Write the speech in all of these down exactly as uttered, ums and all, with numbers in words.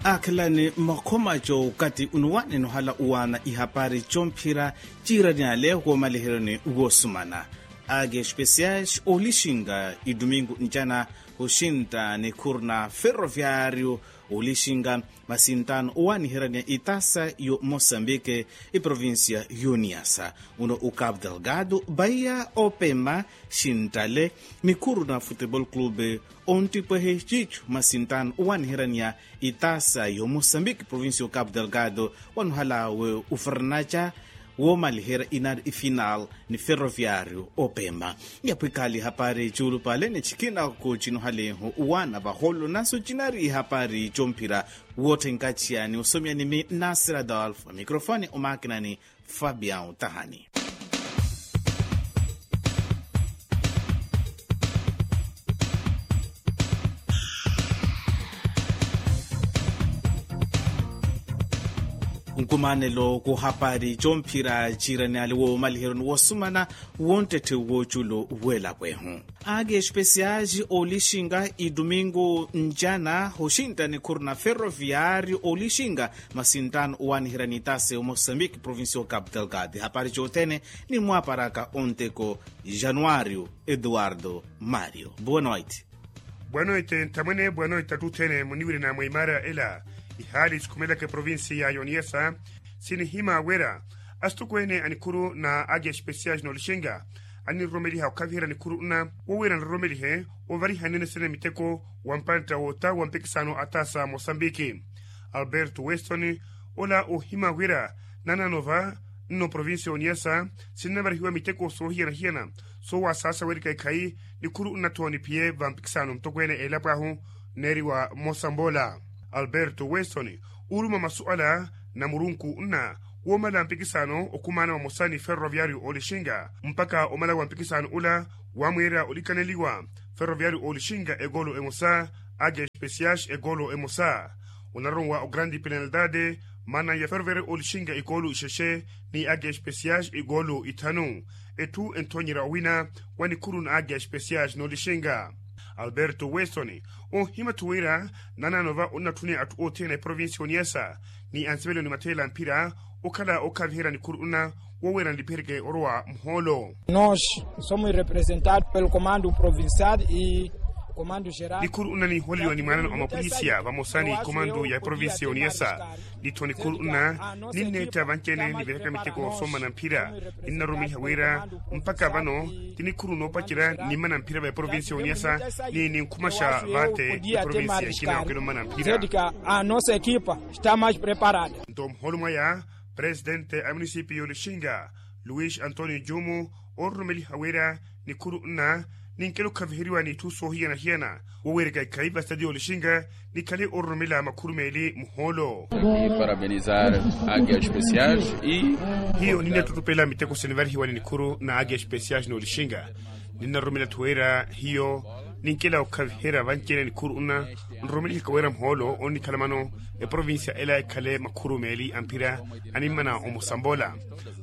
Aakhelani makhomaco okati unuwanene ohala uwaana ihapari comphira ciirani ale woomaliheryani woosumana. Ake especiais oolixinka idumingu ncana oxintta nikhuru na ferroviario oolixinka masinttaano owaaniheryani itasa yo mosambike iprovincia yoniyasa uno ukapu delgado baiya opema xinttale nikhuru na futebol clube onttipwehe ciicu masinttaano owaaniheryaniya itasa yo mosambiki provincia yo capu delgado wanohala we ufernaca woomaliherya inari ifinal ni ferroviario opema. Yapwikali hapari cuulupale ni cikinako cinohaleho uwaana vaholo naso cinari ihapari comphira wootthenkaciyani osomiyani mi nasir adolf microfone omakinani fabian tahani. Nkumanelo kuhapari comphira ciirani ale woomaliheryo ni woosumana wonttetthe wooculo weelapwehu. Ake especiais oolixinka idumingu ncana oxintta nikhuru na ferroviario oolixinka masinttaano owaaniherya ni itasa yo mosambiki provincia yo capu delgado hapari cothene ni mwaparaka onteko januario eduardo mario buwenoiti. Buwenoiti nthamwene buwenoiti attuthene muniwirina mwa imara ela ihaali sikhumelaka eprovincia ya yoniyasa sinihima wira asitokweene a nikhuru na ake especiais noolixinka aniroromeliha okhaviherya nikhuru nna wowira niroromelihe ovariha nene sene miteko wa mpantta woota wa mpikisano a tasa mosambiki alberto weston ola ohima wira nanano va nno provincia oniyasa sinnavarihiwa miteko soohiyana-hiyana soowasaasa werika ekhayi nikhuru nna tho niphiye va mpikisano mutokweene eelapo ahu neeriwa mosamboola alberto weston uuruma masuala na murunku nna woomala mpikisano okhumaana vamosa ni ferroviario oolixinka mpakha omala wa mpikisano ula waamweera olikaneliwa ferroviario oolixinka ekoolo emosa ake especiais ekoolo emosa onaronwa ograndi penalidade maana ya ferroviario oolixinka ikoolo ixexe ni ake especiais ikoolo ithanu etthu enthonyerya owina wa nikhuru na ake especiais noolixinka alberto weston ohimathu wira nanaano va onnatthuni atthu othene a eprovincia oniyasa ni ansivelo ni matheela mphira okhala okhaviherya nikhuru nna woweera nlipihereke orowa muhoolo. Nos somos representados pelo comando provincial e comando geral nikhuru nna niholeliwa ni mwaanano a mapolisia vamosa ni comando ya eprovincia oniyasa nitho nikhuru nna ninneetta vanci-ene niviraka miteko soomana mphira ninnaroromeliha wira mpakha vano ti nikhuru noopacerya nimmana mphira va eprovincia oniyasa ni ninkhumaxa vaate eprovincia ekina okela ommana mphira. Nto muholo mwaya presidente a munisipiyo olixinga luis antonio jumu oororomeliha wira nikhuru nna ninkela okhaviheriwa n'itthu soohiyana-hiyana woweereka ikhayi va stadiyo olixinga nikhale oororomela makhuru meeli muhoolo. Parabenizar agia especial. Hiyo ninnattutupela miteko sinivarihiwa ni nikhuru na agia especial n'olixinga ninnaroromela atthu wira hiyo ninkela okhaviherya vanci-ene nikhuru nna nroromelihaka wira muhoolo onnikhala mano eprovincia ela ekhale makhuru meeli a mphira animmana omusamboola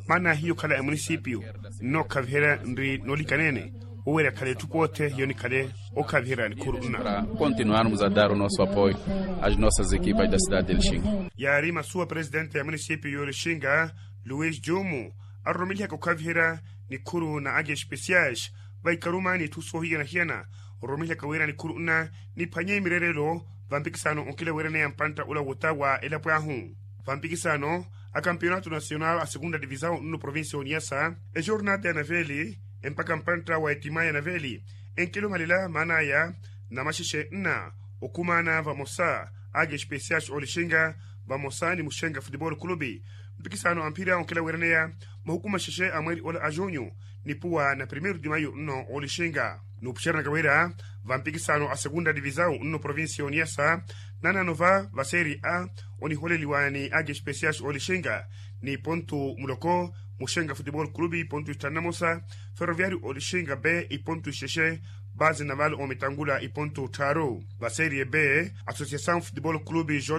maana hiyo okhala emunisipiyu nnookhaviherya nri noolikanene woweerya khale etthu poothe hiyo nikhale okhaviherya nikhuru nna. Continuarmos a dar o nosso apoio às nossas equipas da cidade de lixinga. Yaari masuwa presidente ya munisipiyu y'olixinga luis jumu aroromelihaka okhaviherya nikhuru na agia especiais vaikaruma n'itthu soohiyana-hiyana ororomelihaka wira nikhuru nna niphwanye mireerelo va mpikisano onkila weeraneya mpantta ula wota wa elapo ahu va mpikisano a campeonato nacional a segunda divisao nno provincia oniyasa ejornada ya naveli empaka mpantta wa etima ya naveli enkela omalela maan'aya namaxexe nna okhumaana vamosa agia especiais olixinga vamosa ni muxenga futebol clube mpikisano a mphira onkela weeraneya mahukuma xexe a mweeri ola a junyu nipuwa na primeiro de maio nno olixinga nuupuxeranaka wira va mpikisano a segunda divisao nno provincia oniyasa nanano va va serie a oniholeliwa ni agia especiais olixinga ni pontu muloko muxenga futebol clube pontu ixtanu na mosa ferroviario olixinga be ipontu ixexe base naval omitangula ipontu tthaaru va serie b associação futebol clube jj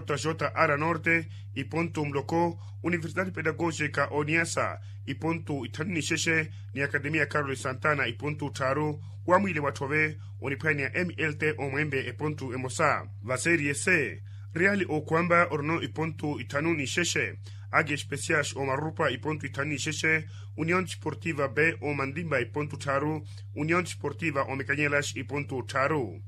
ara norte ipontu muloko universidade pedagógica oniyasa ipontu ithanu n'ixexe ni academia carlos santana ipontu tthaaru wamwiile watthove oniphwanya ni a mlt omwembe epontu emosa va serie c Reali okwamba orino ipontu ithanu ni xexe. Age especias omarurupa ipontu ithanu ni xexe. Union desportiva b omantimba ipontu tharu. Union desportiva omekanyelas ipontu tharu.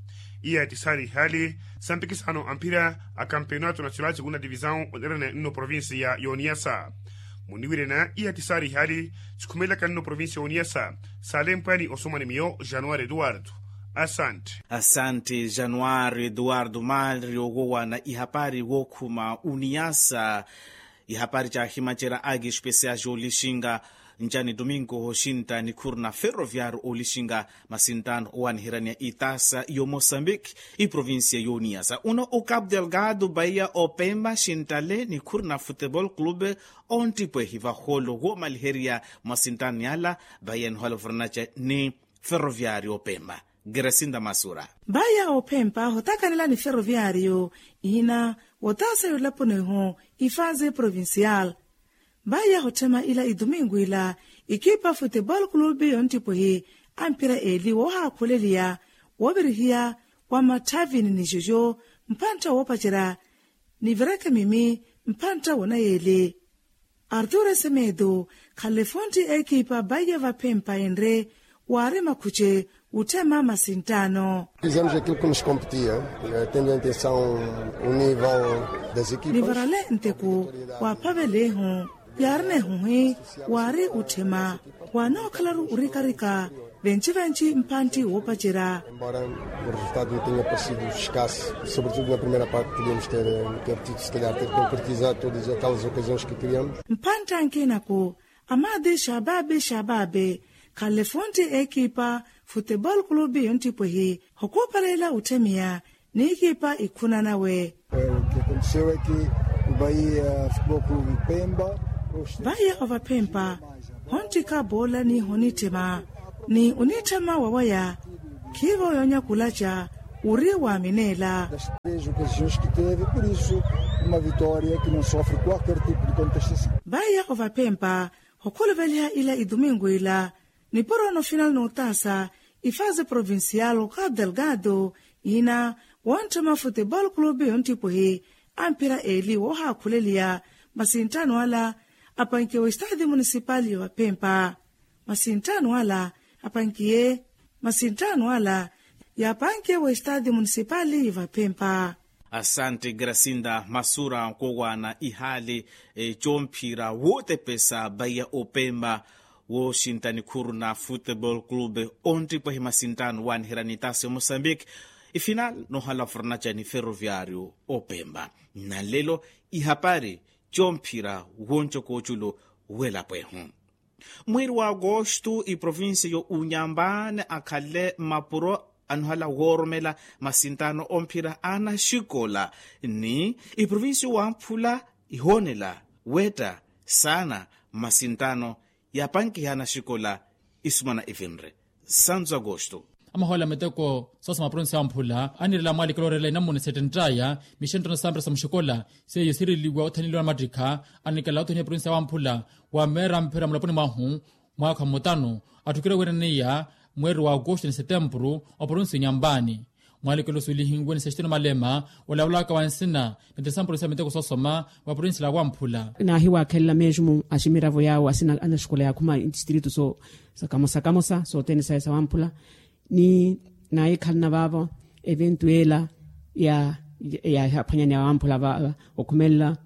Iya etisaari ihali sampikisano amphira a kampeonato nasional segunda divisao onerene nno provincia ya yoniyasa. Muniwirena iya etisaari ihali sikhumelaka nno provincia ya yoniyasa. Salempwani osomani miyo januari eduardo. Asante. Asante januari eduardo mari owowana ihapari wokhuma uniyasa. Ihapari cahimacerya aki especial olixinga ncani domingo oxinta nikhuru na ferroviario olixinga masintano owaniheraniya itasa yo mosambiki iprovincia yoniyasa uno ukapu delgado baiya opemba xintale nikhuru na futebol clube. Ontipwehi vaholo womaliheriya masintano yala. Baiya nihola ofornaca ni ferroviario opemba. Gerasinda masura. Baiya ophempa hotakanela ni ferroviario ihina wotasa yolapuniho ifaze provincial. Vaiya hotthema ila idomingo ila ikipa futebol clube yonttipohi ampira eli wohaakhuleliya wovirihiya wa matthavini ni jojo mphantta woopacerya ni virekemimi mphantta wonayeli. Arturo semedo khalefontti ekipa vaiya vaphempa enre waari makhuce wutthema masinttaano. Fizemos aquilo que nos competia, tendo em atenção o nível das equipas. Nivarale nteko waaphavelehu yaari nehuhi waari utthema waanookhalaru orikarika venci-venci mphantti woopacerya. Embora o resultado não tenha parecido escasso, sobretudo na primeira parte podíamos ter ter tido se calhar ter concretizado todas aquelas ocasiões que criamos. Mphantta ankinaku amaadi xababe xababe khalefontti ekipa futebol clube yonttipwehi hokuupalela utthemiya ni ikipa ikhuna nawe. Vaiya ovaphempa honttikha boola ni honitthema ni onitthema wawaya khiivo yoonyakulaca wuri waamineela. Vaiya ovaphempa hokhuluveliha ila idomingo ila nipuro nofinal notaasa ifaze provincial okapu delgado ina wontthema futebol clube yonttipohi ampira eli woohaakhuleliya masinttaano ala apankiye westadi munisipali yovaphempa. Masinttaano ala apankiye masinttaano ala yaapankiye westadi munisipali yovaphempa. Asante grasinda masura nkowana ihali comphira wootepesa vaiya opempa wooxintta nikhuru na futebol clube onttipwehi masinttaano waaniherya ni taasi ya mosambiki ifinal noohala fornaca ni ferroviario opempa. Nanlelo ihapari comphira woncoka oculu welapwehu. Mweeri wa agosto iprovincia yo unyambani akhale mapuro anohala wooromela masinttaano omphira anaxikola ni iprovincia owamphula ihoonela wetta saana masinttaano yaapankiha anaxikola isumana ivinre santu agosto. Amahoola miteko soosoma provincia yamphula anirela mwaalikelo orela inamuna setenttaya mixenttano sampira sa muxikola seiyo sireliwa othaneliwa na mattikha anikela othoniha provincia yamphula wa meera mphira mulaponi mwahu mwaakha mutano atthukire wiiraniya mweeri wa agosto ni setempuru oprovincia onyambani. Mwaalikelo suulihiwe ni sextino malema olavalaka wa nsina ni tesampuru sa miteko soosoma wa provincia la wamphula. Naahiwaakhelela mesmo aximiravo yaawo asina anaxikola yaakhuma ntistritu so sakamosa kamosa sothene saya sa wamphula ni naahikhalana vaavo eventu ela ya yaaphwanyani ya wamphula vaava okhumelela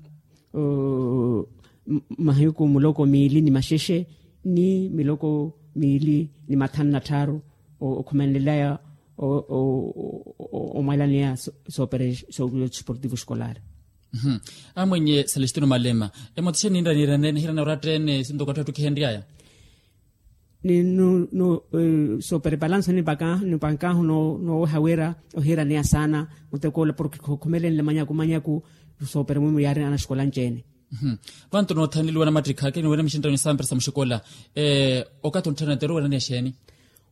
mahiku muloko miili ni maxexe ni miloko miili ni mathanu na tthaaru okhumenelelaya omwalaneya soopere soopere desportivo escolar. Amwinye celestino malema emothixeni ninra nirane nihirana orattene sintoko atthu attukihenryaya. Soopere palanso nipankahu nooweha wira ohiiraneya saana mutekoola porke khukhumelenle manyaku manyaku soopere mwimu yaari anaxikola anci-ene. Vantu noothaneliwa namattikha kiniwene mixinttano ni sampira sa muxikola okathi onttharana teru weraneya xeeni?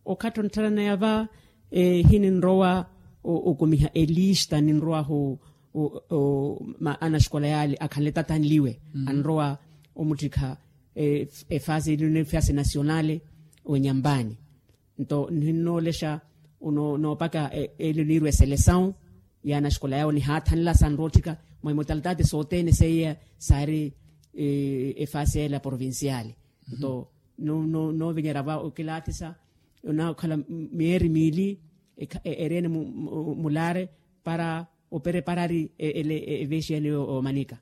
Okathi onttharanaye va hininrowa okumiha elista ninrowahu anaxikola yaale akhanle tathanliwe anrowa omuttikha efase elino efase nasionale wenyambani. Nto nihinnoolexa noopaka elino niirwa eselesawu yaana axikola yawo nihaathanela sanrootthika mwa imotalitati sothene seiya saari efaasi ela provinciali. Nto noovinyerya va okilaatisa onaakhala miyeeri miili ereene mulaare para opereparari ele eveexiya niyo omanika.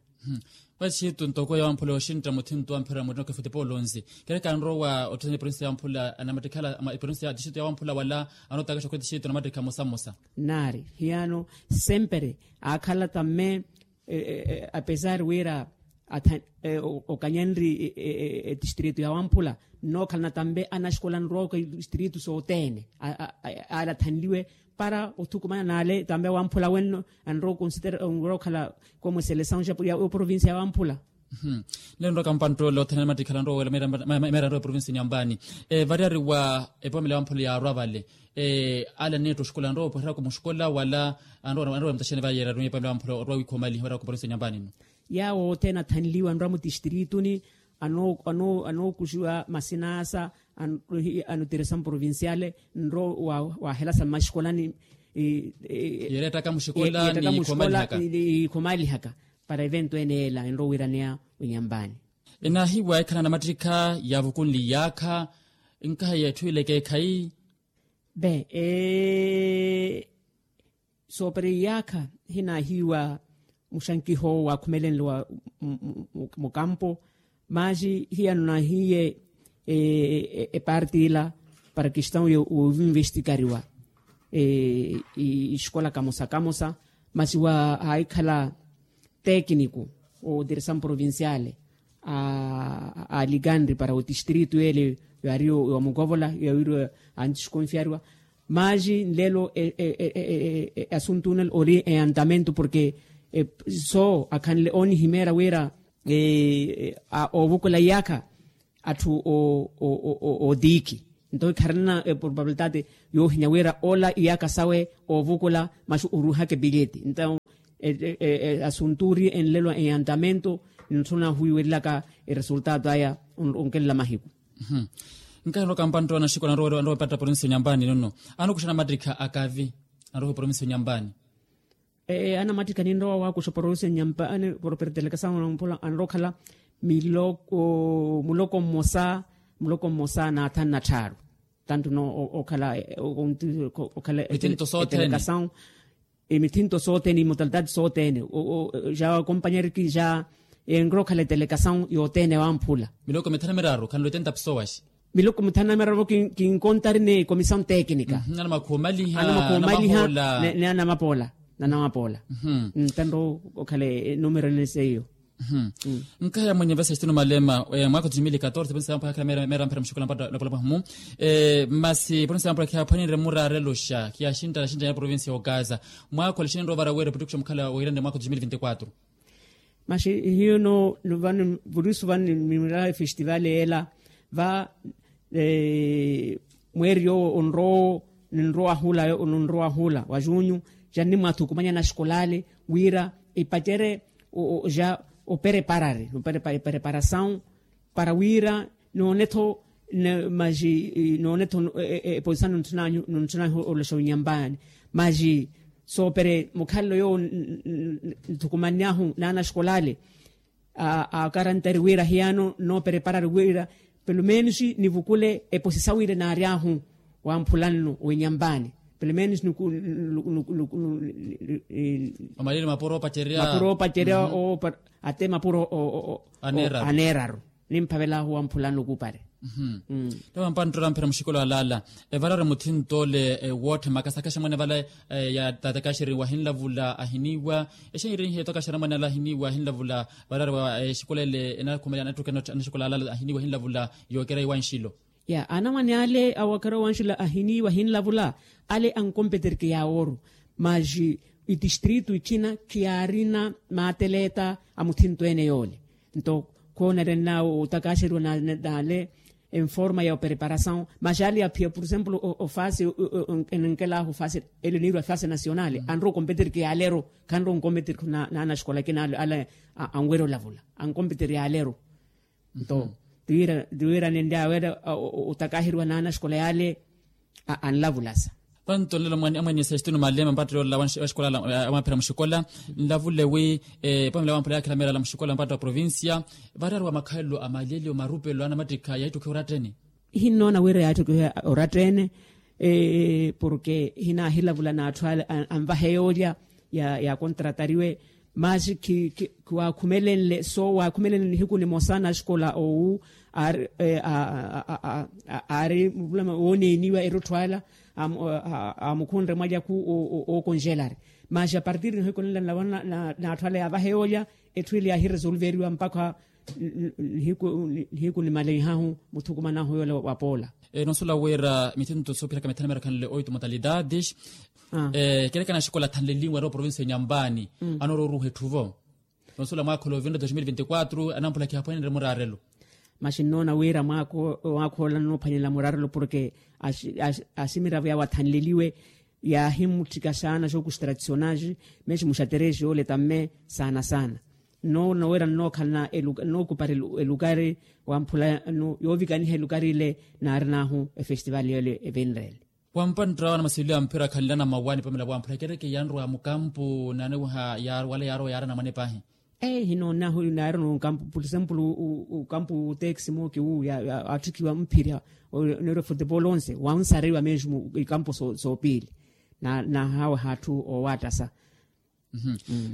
Masi xiitu ntoko yawamphula yoxintta muthinto wa mphira murina okefutipa olonzi kereka anrowa otthusanya eprovinsi yawamphula anamattikhala eprovinsi ya tixitu yawamphula wala anootakaxa okhweti xiitu anamattikha mmosa mmosa. Naari hiyano sempre aakhala tamme apesar wira okanya nri etistritu yawamphula nnookhalana tambe anaxikola nrooko etistritu sothene ale athanliwe para othukumana n'ale tambe awamphula wenno anrowa okonsitera onrowa okhala komo eselesawu ya oprovinsiya yawamphula. Nle nrowa kampantt'ole othene anamattikhala anrowa wela meera anrowa eprovinsiya nyambani variyari wa epoomela yawamphula yaarwa vale ale aneetta oxikola anrowa opwereraka muxikola wala anrowa emutaxene vayeera arumiye pamela wamphula orwa wiikhomaliha wira kuporonse nyampanino. Yaawo othene athanliwa anrwa mutistirituni anookuxiwa masinasa anotiresa mprovinciale nro wahelasa mmaxikolani yerettaka muxikola niikhomalihaka para evento ene ela enro wiraneya winyambani. Enaahiwa ekhala namattikha yaavukunli iyaakha nkaha yeetthu ileke ekhayi. Be soopera iyaakha hinaahiwa muxankiho waakhumelenle wa mukampo. Maasi hiyano naahiye eparti ila para kestawu yoovinvestikariwa ixikola kamosa kamosa masi wa haikhala tekiniku otiresamu provinciale alikanri para otistritu ele yaari yomukovola yawiri antiskonfiariwa. Maasi nlelo asuntunel ori eyantamento porke soo akhanle oonihimeera wira oovukula iyaakha atthu otiikhi. Nto ikharina eprobabilitati yoohinya wira ola iyaakha sawe oovukula masu oruuhaka epileti nto asuntu ori enlelo eyantamento ntthu nahuwiwelelaka eresultato aya onkelela mahiku. Nkahelo kampanto anaxikola anrowa epatta provinsi ya onyampani nono anokuxa namattikha akavi anrowa eprovinsi ya onyampani. Anamattikha ninrowa waakuxa provinsi ya onyampani propertelekasawu namphula anrowa okhala miloko muloko mmosa muloko mmosa na athanu na tthaaru. Tanto no okhala okhala etelekasawu emithinto sothene imotalitati sothene ja compañeriki ja enrowa okhala etelekasawu yothene wamphula. Miloko mithanu na miraru khanlo oitenta pesoas. Miloko mithanu na miraru vo kinkontari ni comissão técnica. Anamakhoomaliha ni anamapoola nanamapoola. Tanto okhala enumero ene seiyo. Nkaya mwenye vesa estino malema mwaakho dos mil e catorze ponse yamphwakhala meera mphira muxikola mpata lopolopa humu. Masi ponse yamphwakhala khiyaaphwanenre murareloxa khiyaxinttana xinttana ya provinsi ya ogaza mwaakho ole xinenre ovara wira puttukuxa mukhala oirane mwaakho dos mil vinti quatro. Masi hiyo no vano vurisu vano nimira efestival ela va mweeri yoowo onrowo ninrowa hula ninrowa hula wa junyu ja nnimwathukumanya naxikola ale wira epacerye ja opereparari opereparasawu para wira noone-tho masi noone-tho eposisa nontthunanyu nontthunanyu oloxa winyambaani masi soopere mukhalelo yoowo nthukumanny'ahu n'anaxikola ale akarantari wira hiyano noopereparari wira pelomenos nivukule eposisa wira naary'ahu wamphula nno winyambaani pelomenos omalile mapuro opacerya mapuro opacerya ate mapuro aneeraru nimphavel'ahu wamphula nno kuupare. Ttawa mpanttoro amphira muxikola alaala evarari muthinto ole woottha makasakaxa mwanevala ya tatakaxeri wahinlavula ahiniiwa exenyerihiye takaxera mwanevala ahiniiwa ahinlavula varari wa exikola ele enakhumelela anattuka anaxikola alaala ahiniiwa ahinlavula yookereya iwanxilo. Ya anamwane ale awakhara owanxula ahiniiwa ahinlavula ale ankompeterike yaawooru masi itistritu itthina khiyaarina maateleeta a muthinto ene yoole. Nto khoonerenna otakaxeriwa n'ale enforma ya opereparasawu masi ale aphiya por exemplo ofasi enenkel'ahu ofasi ele oniiriwa efasi nasionale anrowa okompeterike yaaleru khanrowa onkompeterike n'anaxikola akina ale anwerya olavula ankompeterike yaaleru. Nto tiwira nenry'awe otakaheriwa n'anaxikola y'ale anlavulasa. Panto nlelo mwene amwene sestino malema mpatto yoolela wa xikola amwaphira muxikola. Nlavule wi pamela wamphula yakhela meerala muxikola mpatto wa provincia, variyari wa makhalelo a malelyo marupelo anamattikha yaittukhiwa orattene. Hinnoona wira yaattukiha orattene. Porke hinahilavula n'atthu ale anvahe yoolya ya contratariwe. Masi khiwaakhumelenle so waakhumelenle nihiku nimosa naxikola owu aari aari muvulama wooneeniwa erottho ala aamukhunre mwalyaku ookonjelari. Masi apartir nihiku nila n'atthu ala yaavahe yoolya etthu ili yaahiresolveriwa mpakha nihiku nimaleihahu muthukumanahu yoola wa poola. Nonsuwela wira mithinto soophiraka mithanu mirakhanle oito modalidades. Kereke anaxikola athanleliwe arowa provincia ya nyampani anoorowa oruuha etthuvo. Nonsuwela mwaakha ola ovinre dos mil vinti quatro anamphula khihaphwanenre muraarelo. Masi nnoona wira mwaakha ola anoophwanela muraarelo porke asimiravo yawe athanleliwe yaahimutthika saana xookuxi tradicionais. Mesi muxateresi yoole tamme saana saana. Nnoona wira nnookhalana nnookupari elukari wamphula yoovikaniha elukari ile naarin'ahu efestival yoole evinrele. Wampantta wana masililo ya mphira khanlana mawani pamela wamphula kereke yanrowa mukampu naaniwiha wala yaarowa yaarana mwane paahi. Ee hinoon'ahu naarina okampu por exemplo okampu texi mooki wu yaatthikiwa mphira neerwa futebol onse wansariwa mesmo ikampu soopiili. Nahaaweha atthu oowaattasa.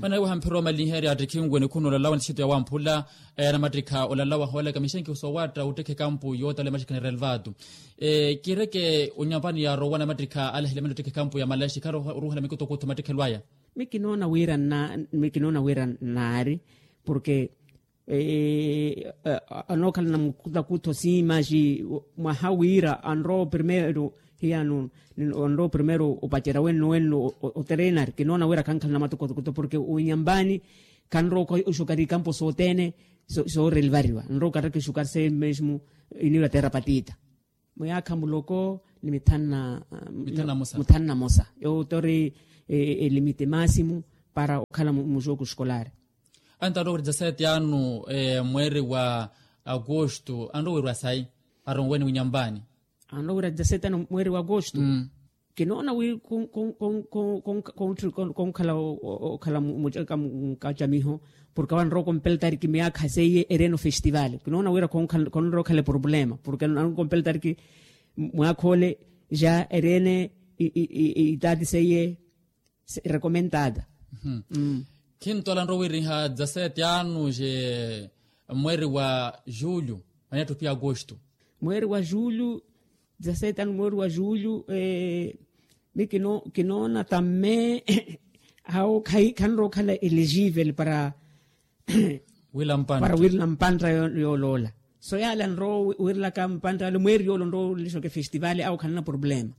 Manaweha mphira omaliherya attikhinwe nikhuna olalawa nthisitu yawamphula anamattikha olalawa hoolaka mixenkihu soowaatta ottekha ekampu yootala emaxikana relvatu. Kireke onyampani yaarowa anamattikha alahile mene ottekha ekampu ya malaxi kharoruhela mikutokutho mattikhelo aya. Mikinoona wira mikinoona wira nnaari porke anookhalana mukutakutho si masi mwaha wira anrowa oprimeiro hiyano anrowa oprimeiro opacerya wenno wenno oterenari kinoona wira khankhalana matukotokoto porke onyampani khanrowa oxukari ikampo sothene soorelivariwa anrowa okattaka exukari seye mesmo iniwira terapatita. Muyaakha muloko ni mithanu na muthanu na mosa. Yowo tori elimite maasimu para okhala muxooku xikolaari. Antarowa wira dezasete anu mweeri wa agosto anrowa wira sayi aronwene winyampani. Anrowa wira dezasete anu mweeri wa agosto. Kinoona wi konkhala okhala mucaka mukacamiho porke awo anrowa okompeltari ki miyaakha seiye ereno festival kinoona wira khonrowa okhala eproblema porke anrowa okompeltari ki mwaakha ole ja erene itaati seiye. Recomentada. Khintola nrowa wiriha dezasete anu je mweeri wa julho. Mwaneetto pia agosto. Mweeri wa julho dezasete anu mweeri wa julho. Mi kinoona tamme awo khanrowa okhala elegivel para wira mpantta yooloola. So yaale anrowa wirilaka mpantta yoole mweeri yoole onrowa olelexaka efestival awo khanna problema.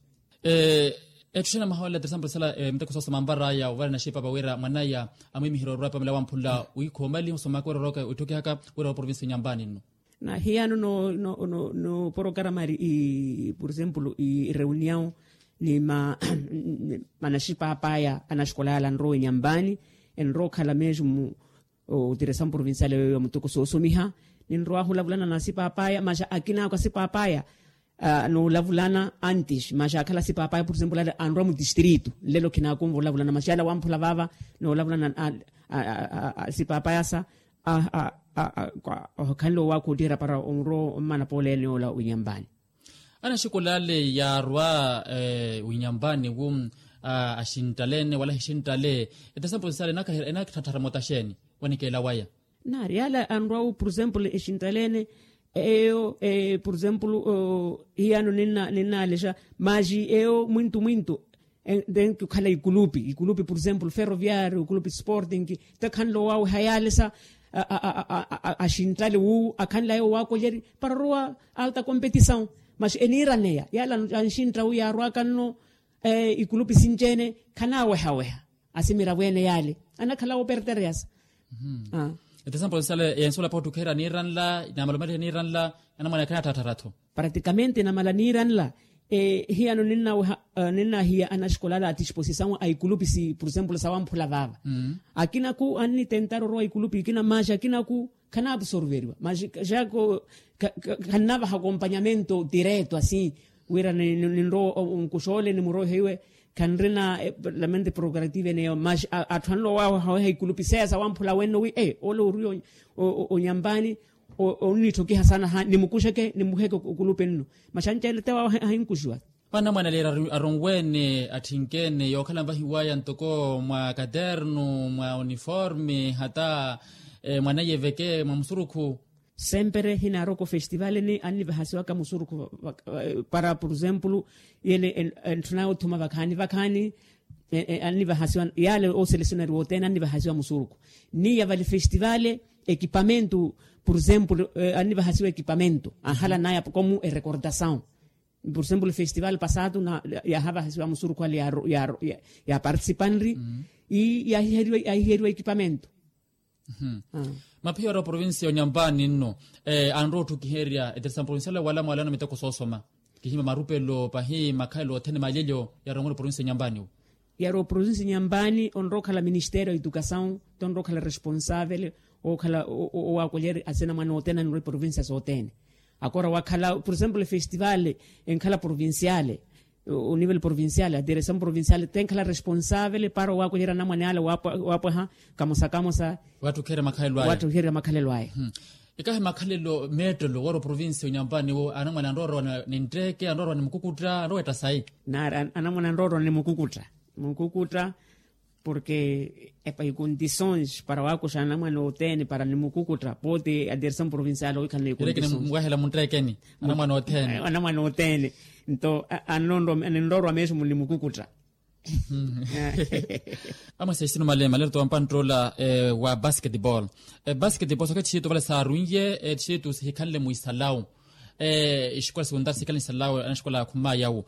Etthu xana mwaha wala teresa mpurisala miteko soosoma anvar'aya ovara naxipa vawira mwan'aya amwimihira orwa pamela wamphula wiikha omali osomaka wira orooka witthukihaka wira wa provincia nyampani nno. Na hiyano no porokaramari i por exemplo i reunião ni manaxipapaya anaxikola yala anrowa enyampani enrowa okhala mesmo otiresamu provincial eyo ya mutoko soosomiha. Ninrowahu olavulana na asipapaya masi akina ako asipapaya noolavulana antes masi akhala asipapaya por exemplo ale anrowa mutistrito nlelo khinakunva olavulana masi ale awamphula vava noolavulana asipapaya sa. Okhanle owaakha ottiira para onrowa ommana pooleene yoola winyampani. Anaxikola ale yaarwa winyampani wu axinttalene wala hixinttale. Etasampo sisale enakithatthara mota xeeni wanikeela waya? Naari yaale anrwa wu por exemplo exinttalene eyo por exemplo hiyano ninnaalexa masi eyo mwintu mwintu. Nte nkikhala ikulupi ikulupi por exemplo ferroviario ikulupi sporting nte khanle owaweha yaale sa axinttale wu akhanle ayo waakolyeri para orowa alta competição. Masi eniiraneya yaale anxintta wu yaarwaka nno ikulupi sinci-ene khanaawehaweha asimiravo ene yaale anakhala oopertereyasa. Ete sampo sisale yensuwela paho ttukheera niiranla namalomaliha niiranla anamwane akhanatthaattharatho. Praticamente namala niiranla hiyano ninnahiya anaxikola ala a disposição a ikulupi si por exemplo sawamphula vaava. Akinaku annitentara orowa ikulupi ikina masi akinaku khanaabsorveriwa masi jako khannavaha akompanyamento direto asi. Wira ninrowa onkuxa ole nimuroiha iwe, khanrina lamente progrativo eneyo mas atthu anlowa wawaha weha ikulupi seya sawamphula wenno wi ole ori onyampani, onnitthokiha sana ha nimukuxeke nimuheke okulupi nno. Mas anceele te wawaha ahinkuxiwa. Panamwanaleeri aronweene atthinkene yookhala nvahiwaya ntoko mwa katernu mwa uniforme hata mwaneye veke mwa musurukhu. Sempre hinaaroko festivaleni annivahasiwaka musurukhu. Para por exemplo yele entthuna othuma vakhaani vakhaani annivahasiwa yale oselessionari wothene annivahasiwa musurukhu. Niya vali festivale ekipamentu por exemplo annivahasiwa ekipamentu anhala naya komu erekordasawu. Por exemplo festival pasatu yaahavahasiwa musurukhu ale yaapartisipanri. Ii yaahiheriwa ekipamentu. Maphiya ori oprovincia onyampani nno anrowa otthukiherya eteresa provincial wala mwalano miteko soosoma kihimya marupelo pahi makhalelo othene maalelyo. Yarongola oprovincia onyampani wo yari oprovincia onyampani onrowa okhala ministério a educasawu tonrowa okhala responsavele okhala owaakolyerya asinamwane othene anrowa eprovincia sothene. Akora wakhala por exemplo efestival enkhala provinciale onivel provinciale adiresamu provinciale tenkhala responsavele para owaakolyerya anamwane ale waapweha kamosa kamosa. Watthukiherya makhalelo aya. Ikahi makhalelo meettelo wari oprovincia onyampani wo anamwane anrowa orowa nintteeke anrowa orowa nimukukutta anrowa etta sayi. Nari anamwane anrowa orowa nimukukutta mukukutta. Porke epa icondições para waakuxa anamwane othene para nimukukutta pooti adiresamu provinciale owikhala na icondições. Mwaahela muntteekeni anamwane othene. Anamwane othene nto ninrowa orowa mesmo nimukukutta. Amwesa isinu male maleru towa mpanttola wa basketball. Basketball sooke ettixitu vale saarunye ettixitu sihikhanle mwisalawu. Exikola sekuntaari sikhalani salawu anaxikola akhumaya awo.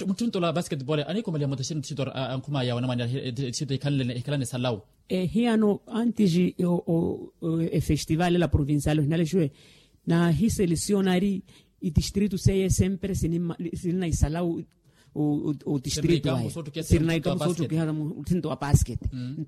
Mutthuntola basketball anikomaliha mutexeni tixito akhumaya awo anamwane tixito hikhalani salawu. Hiyano antes efestival ela provincial ohinalexiwe nahiselessionari itistritu seye sempre sinina isalawu. Otistritu ayo sirina ikamu sootthukiha mutthunto wa basket.